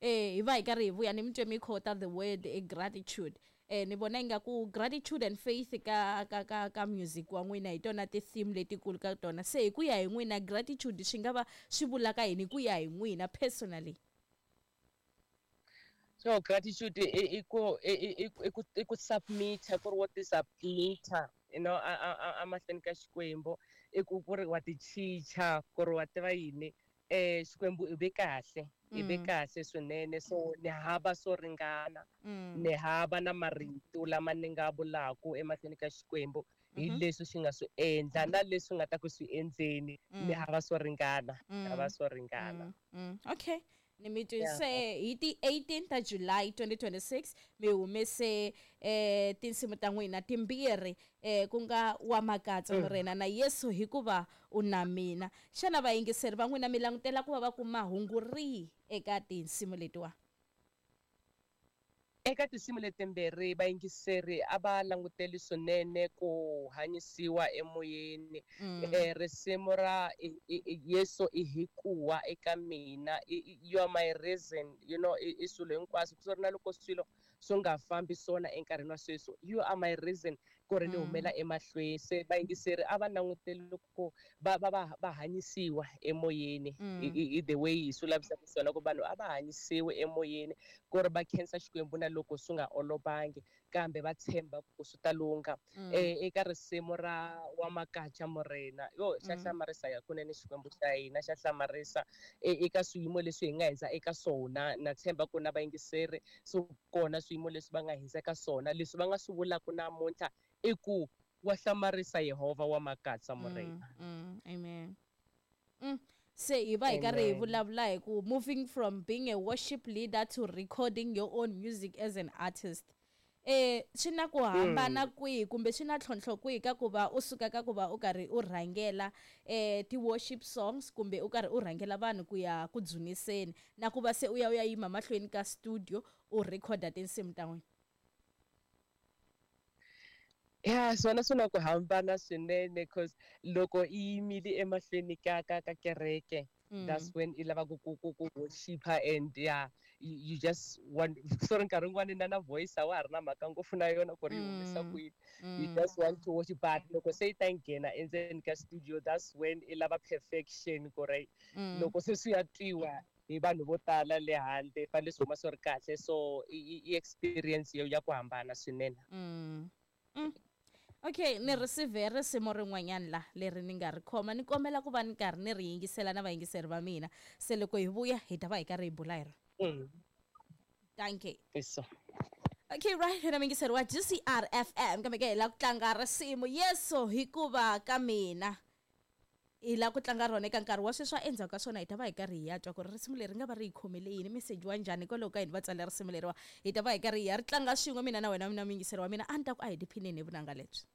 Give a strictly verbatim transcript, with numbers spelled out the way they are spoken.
Eh hi va hi karhi hi vuya ni mi twe mi quote the word eh, gratitude. Eh ni vona ingaku gratitude and faith ka ka ka ka music wa n'wina hi tona ti-theme letikulu ka tona. Se hi ku ya hi n'wina gratitude swi nga va swi vulaka yini ku ya hi n'wina personally? So gratitude i ku i ku i ku submit-a ku ri wo ti submit-a you know a a a mahlweni ka Xikwembu i ku ku ri wa ti chicha ku ri wa tiva yini eh Xikwembu i ve kahle i ve kahle swinene so ni hava swo ringana ni hava na marito lama ni nga vulaku emahlweni ka Xikwembu hi leswi xi nga swi endla na leswi nga ta ku swi endleni ni hava swo ringana hava swo ringana. Okay. Ni mi twise hi ti eighteen ta July twenty twenty-six mi humese eh tinsimu ta n'wina timbirhi eh ku nga wa Makatsa Morena na Yesu hikuva u na mina. Xana vayingiseri va n'wina mi langutela ku va va kuma hungu rihi eka tinsimu letiwa? Eka tinsimu letimbirhi vayingiseri a va languteli swinene ku hanyisiwa emoyeni. Eh risimu ra Yesu i hikuwa eka mina, you are my reason, you know i swilo hinkwaswo ku ri na loko swilo swi nga fambi swona enkarhini wa sweswi, you are my reason ku ri ni humela emahlweni. Se vayingiseri a va languteli ku va va va va hanyisiwa emoyeni i the way hi swi lavisaka swona ku vanhu a va hanyisiwe emoyeni ku ri va khensa Xikwembu na loko swi nga olovangi kambe va tshemba ku swi ta lungha. Eh eka risimu ra wa Makatsa Morena, yo xa hlamarisa ya kunene Xikwembu xa hina xa hlamarisa eka swiyimo leswi hi nga hindza eka swona. Na tshemba ku na vayingiseri so kona swiyimo leswi va nga hindza eka swona leswi va nga swi vulaka namuntlha i ku wa hlamarisa Yehovha wa Makatsa Morena. Amen. Mm. Se hi va hi karhi hi vulavula hi ku moving from being a worship leader to recording your own music as an artist. Eh swi na ku hambana kwihi kumbe swi na tlhontlho kwihi ka ku va u suka ka ku va u karhi u rhangela eh ti-worship songs kumbe u karhi u rhangela vanhu ku ya ku dzuniseni na ku va se u ya u ya yima mahlweni ka studio u recorda tinsimu ta n'wina? Ya swona swi na ku hambana swinene cause loko i yimile emahlweni ka ka ka kereke, that's when i lava ku ku ku ku worshipa and yeah you, you just want sorry nkarhi wun'wani na na voice a wa ha ri na mhaka ngopfu na yona ku ri yi humesa kwini, you just want to worship. But loko se yi ta nghena endzeni ka studio, that's when i lava perfection ku ri loko se swi ya twiwa hi vanhu vo tala le handle fanele swi huma swi ri kahle. So i i experience yo ya ku hambana swinene. Mm. Okay, ni receive risimu rin'wanyana la leri ni nga ri khoma ni kombela ku va ni karhi ni ri yingisela na vayingiseri va mina. Se loko hi vuya hi ta va hi karhi hi bula hi rona. Thank you. Yes. Okay, right, na muyingiseri wa G C R F M kambe ke hi la ku tlanga risimu Yesu hikuva ka mina. Hi la ku tlanga rona eka nkarhi wa sweswi endzhaku ka swona hi ta va hi karhi hi ya twa ku ri risimu leri nga va ri hi khomele yini, meseji wa njhani hikwalaho ka yini va tsale risimu leriwa. Hi ta va hi karhi hi ya ri tlanga swin'we mina na wena mina muyingiseri wa mina. A ni ta ku a hi tiphineni hi vunanga lebyi.